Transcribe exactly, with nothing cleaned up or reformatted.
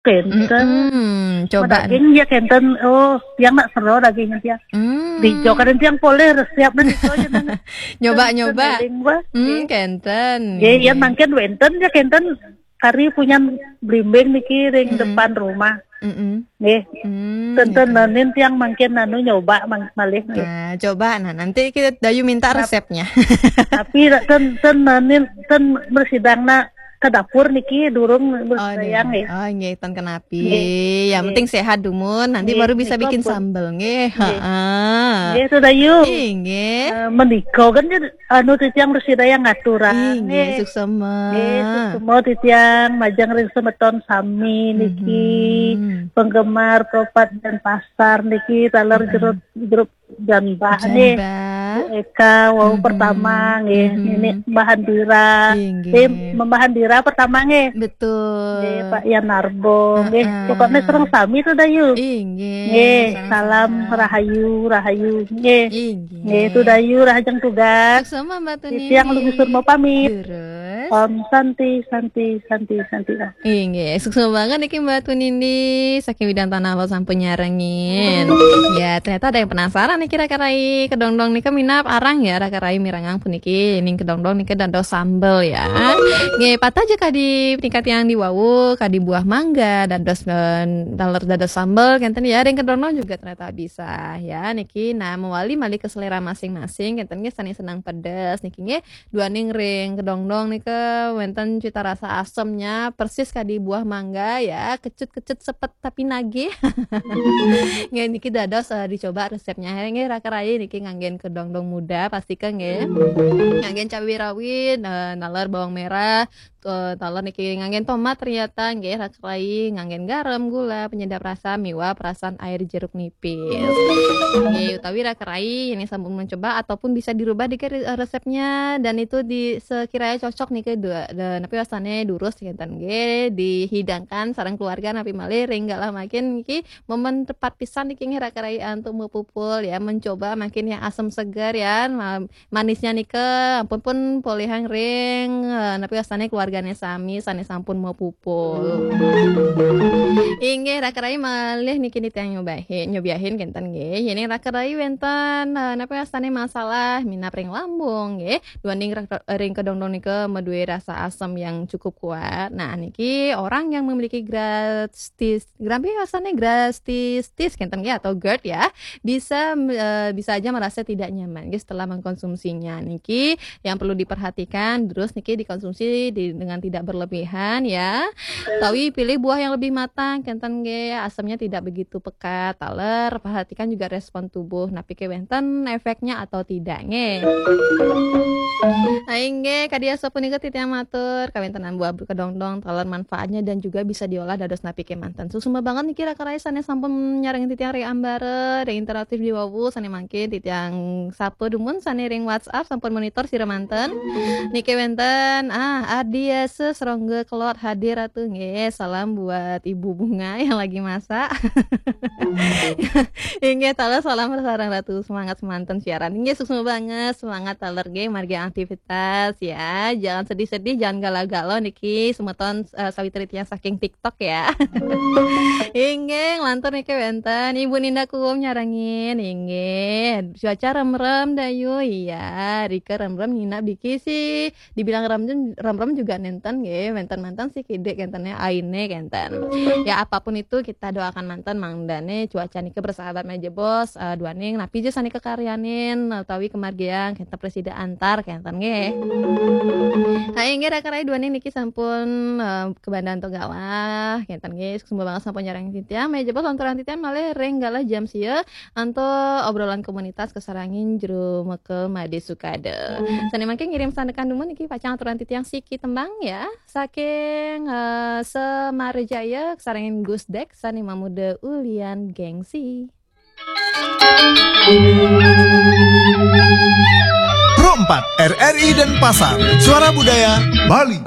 Kenten. Mm-mm. Coba. Daging dia kenten. Oh, tiang nak sero daging dia. Hmm. Di Jogja dan tiang boleh resep dan itu aja nang. Nyoba, nyoba. Kenten, bah. Hmm, kenten. Ya, ya, mungkin wenten ya kenten kari punya blimbing niki ring depan rumah. Mm-mm. Nggih. Hmm, kenten gitu. Nenin tiang mungkin anu nyoba mang-, malih nggih. Nah, coba. Nah, nanti kita Dayu minta resepnya. Tapi ten, ten nenin ten bersidang nak ke dapur niki durung. Oh, bersidang nggih. Oh, nggih, ten kenapi. Nggih. Yang penting sehat dumun, nanti baru bisa bikin sambel nggih. Nggih. Heeh. Nggih, itu Dayu. Nggih. Eh, menika kan anu titiang bersidang ngaturang. Nggih, suksema. Nggih, suksema titiang majeng ring semeton sami niki. Penggemar Propat dan Pasar niki taler jeruk, jeruk Janbah nggih. Janbah. Bu Eka, wau pertama nggih. Nini Mbah Handira. Nggih, nggih. Eh, Mbah Handira pertama nggih. Betul. Nggih, Pak Yan Narbo nggih. Heeh. Pokoknya sereng sami tuh Dayu. Nggih. Nggih, salam rahayu, rahayu nggih. Nggih. Nggih, tuh Dayu rahajeng tugas. Sama Mbak Tuni. Tiang lebih surma pamit. Terus. Om Santi, Santi, Santi, Santi. Om. Inggih, suksma banget niki Mbak Tunindi saking Widang Tanah Lot sampun nyarengin. Ya, ternyata ada yang penasaran niki Raka Rai. Kedongdong nika minab arang ya Raka Rai mirengang puniki. Ning kedongdong nika dados sambel ya. Nggih, patah aja kadi nika tiang di wau, kadi buah mangga dados, eh, taler dados sambel kenten ya. Ring kedongdong juga ternyata bisa ya niki. Nah, mewali malih ke selera masing-masing kenten nggih, sane senang pedes niki nggih. Duaning ring kedongdong nika wenten cita rasa asemnya persis kadi buah mangga ya, kecut-kecut sepet tapi nagih. Nggih, niki dados, eh, dicoba resepnya. Nggih, Raka Rai niki nganggen kedongdong muda pasti ke nggih. Nganggen cabai rawit, eh, taler bawang merah, eh, taler niki nganggen tomat ternyata nggih Raka Rai, nganggen garam, gula, penyedap rasa, miwah perasan air jeruk nipis. Nggih, utawi Raka Rai ini sampun mencoba ataupun bisa dirubah dikit re-, resepnya dan itu di sekiranya cocok niki dua, da-, napi wastane durus ngenten nggih dihidangkan sareng keluarga napi malih ring galah makin niki momen tepat pisan niki nggih Raka Rai antuk mapupul ya, mencoba makin yang asam segar ya, ma-, manisnya nika ampun pun polihang ring, eh, napi wastane keluargane sami sane sampun mapupul. Inggih, Raka Rai malih niki nitih nyobahin, nyobiahin kenten nggih. Yen Raka Rai wenten, eh, napi wastane masalah minab ring lambung nggih. Duaning rak-, ring kedongdong nika madue rasa asam yang cukup kuat. Nah, niki orang yang memiliki gastritis, napi wastane gastritis kenten nggih atau gerd ya, bisa, eh, bisa aja merasa tidak nyaman nggih setelah mengkonsumsinya. Niki yang perlu diperhatikan, terus niki dikonsumsi di, dengan tidak berlebihan ya. Tawi pilih buah yang lebih matang, kenten nggih, asamnya tidak begitu pekat. Taler, perhatikan juga respon tubuh. Napi ke wenten efeknya atau tidak nggih. Nah, inggih, kadi asapunika titiang matur, kawentenan buah kedongdong, taler manfaatnya dan juga bisa diolah dados napi ke manten. Suksma banget niki Raka Rai sane sampun nyarengin titiang ring ambara, ring interaktif di wau, sane mangkin titiang sapa dumun sane ring WhatsApp sampun monitor sira manten. Niki wenten, ah, Ardi Yesus Rongga Kelot hadir atuh nggih. Salam buat Ibu Bunga yang lagi masak. Inggih, taler salam sareng Ratu semangat semanten siaran. Inggih, suksma banget, semangat taler nggih margi aktivitas ya. Jangan sedih-sedih, jangan galau-galau niki semeton, eh, sawitri tiang saking TikTok ya. Inggih, lantur niki wenten Ibu Ninda Kuum nyarengin. Inggih, cuaca remrem dayu. Iya, rika remrem nginap diki sih. Dibilang remrem, remrem juga nenten nggih, wenten-wenten sih kidik kenten ya, aine kenten. Ya apapun itu kita doakan manten mangdane cuaca niki bersahabat meja bos, eh, duaning napi ja sane kekaryanin utawi kemargiang kenten presida antar kenten nggih. Nah, inggih Raka Rai duaning niki sampun, eh, kebandan to galah kenten nggih. Suksma banget sampun nyarengin titiang. Meja bos lanturan titiang malih ring galah jam sia antuk obrolan komunitas kasarengin jero mekel Made Sukada. Sane mangke ngirim sandekan dumun niki pacang aturan titiang siki tembang ya. Saking, eh, Samarajaya kasarengin Gus Dek sane mamuda ulian gengsi. Pro empat, R R I Denpasar, Suara Budaya Bali.